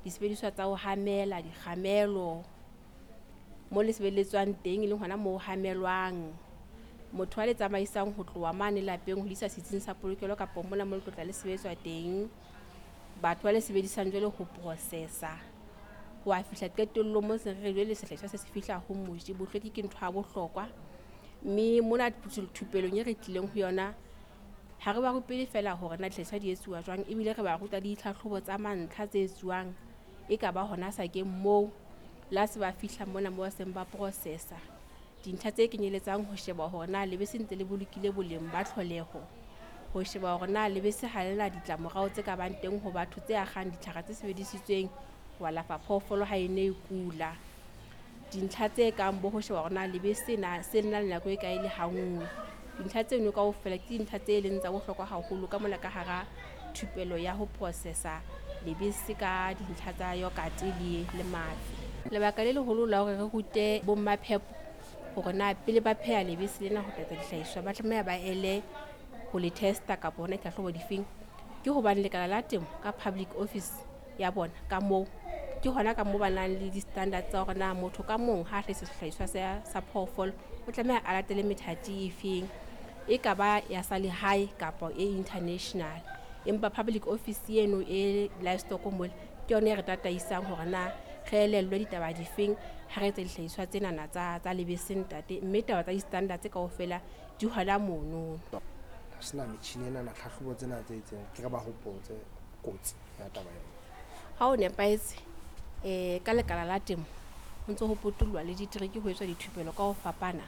Disebediswa tsa ho hamela, dikgamelo, mo le sebeletswang teng e leng hona moo ho hamelwang. Motho a le tsamaisang ho tloha mane lapeng ho le isa setsing sa polokelo kapa mona mo le tlotla le sebetswa teng. Batho ba le sebedisang jwale ho processa ho a fihla qetellong mo se re jwale sehlahiswa se se fihla ho moji. Bohlweki ke ntho ya bohlokwa, mme mona thupelong e re tlileng ho yona ha re ba rupele feela hore na dihlahiswa di etsuwa jwang, ebile re ba ruta le ditlhahlobo tsa mantlha tse etsuwang e ka ba hona sakeng moo la se ba fihla mona mo ba seng ba processa. Dintlha tse kenyeletsang ho sheba hore na lebese ntse le bolokile boleng ba tlholeho, ho sheba hore na lebese ha le na ditlamorao tse ka bang teng ho batho tse akgang ditlhare tse sebedisitsweng ho alafa phoofolo ha e ne e kula. Dintlha tse kang bo ho sheba hore na lebese na se le na le nako e kae le hanngwe. Dintlha tseno kaofela ke dintlha tse leng tsa bohlokwa haholo ka mona ka hara thupelo ya ho processa lebese ka dintlha tsa yogurt le mafi. Lebaka le leholo la hore re rute bommaphepo hore na pele ba pheha lebese lena ho tlatsa dihlahiswa ba tlameha ba ele ho le testa kapa hona ditlhahlobo difeng, ke hobane lekala la temo ka public office ya bona ka moo ke hona ka moo ba nang le di-standards tsa hore na motho ka mong ha a hlahisa sehlahiswa sa phoofolo o tlameha a latele methati efeng, e ka ba ya sa lehae kapa e international. Empa public office eno e livestock mole ke yona e re tataisang hore na re elellwe ditaba difeng ha re etsa dihlahiswa tsenana tsa lebese ntate, mme taba tsa di-standards kaofela di hona mono. Ha sena metjhini ena na tlhahlobo tsena tse itseng, ke re ba hopotse kotsi ya taba ena. Ha o nepahetse ka lekala la temo ho ntso ho potullwa le ditereke ho etswa dithupelo ka ho fapana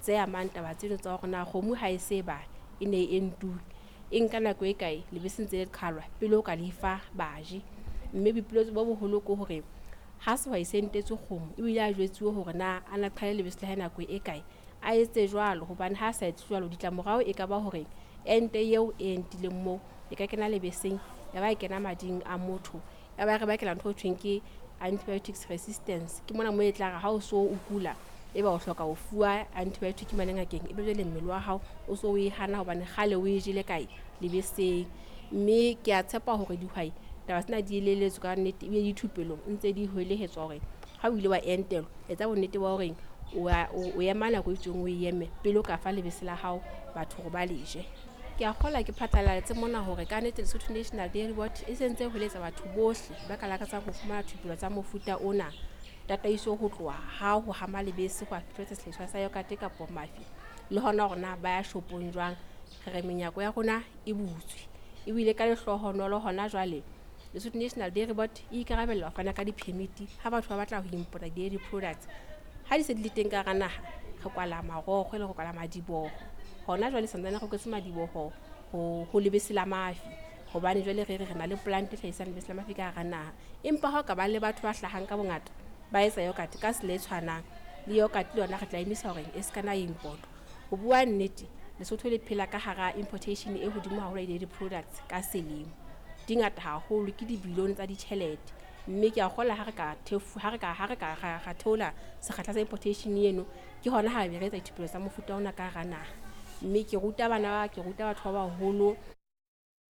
tse amang taba tseno tsa hore na kgomo ha e se ba e ne e entuwe e nka nako e kae lebese ntse le qhalwa pele o ka lefa baji. Mme boipiletso bo boholo ke hore ha sehwai se entetswe kgomo ebile a jwetsuwe hore na a na qhale lebese la hae nako e kae, a etse jwalo, hobane ha a sa etse jwalo ditlamorao e ka ba hore ente eo e entileng moo e ka kena lebeseng ya ba e kena mading a motho, ya ba re bakela ntho e thweng ke antibiotics resistance. Ke mona mo e tla re ha o so o kula e ba o hloka ho fuwa antibiotic mane ngakeng, ebe jwale mmele wa hao o so o e hana hobane kgale o e jele kae lebeseng. Mme ke a tshepa hore dihwai taba tsena di elelletswe ka nnete ebile dithupelong ntse di hwelehetswa hore ha o ile wa entelwa etsa bonnete ba hore o ema nako e itseng o eme pele o ka fa lebese la hao batho hore ba le je. Ke a kgolwa ke phatlalatse mona hore ka nnete Lesotho National Dairy Board e sentse hweletsa batho bohle ba ka lakatsang ho fumana thupelo tsa mofuta ona, tataiso ho tloha ha ho hama lebese ho a fihletsa sehlahiswa sa yogurt kapa mafi, le hona hore na ba ya shopong jwang. Re re menyako ya rona e butswe ebile ka lehlohonolo hona jwale Lesotho National Dairy Board e ikarabella ho fana ka di-permit ha batho ba batla ho importa dairy products. Ha di se di le teng ka hara naha, re kwala marokgo le re kwala madiboho. Hona jwale santsane re kwetse madiboho ho lebese la mafi, hobane jwale re re re na le plant e hlahisang lebese la mafi ka hara naha. Empa ha o ka ba le batho ba hlahang ka bongata ba etsa yogurt ka tsela e tshwanang le yogurt le yona re tla emisa hore e se kana import. Ho bua nnete, Lesotho le phela ka hara importation e hodimo haholo ya dairy products ka selemo. Di ngata haholo, ke dibilione tsa ditjhelete. Mme ke a kgolwa ha re ka ha re ka ha re ka ra theola sekgahla sa importation eno, ke hona ha be re etsa dithupelo tsa mofuta ona ka hara naha. Mme ke ruta bana, ke ruta batho ba baholo.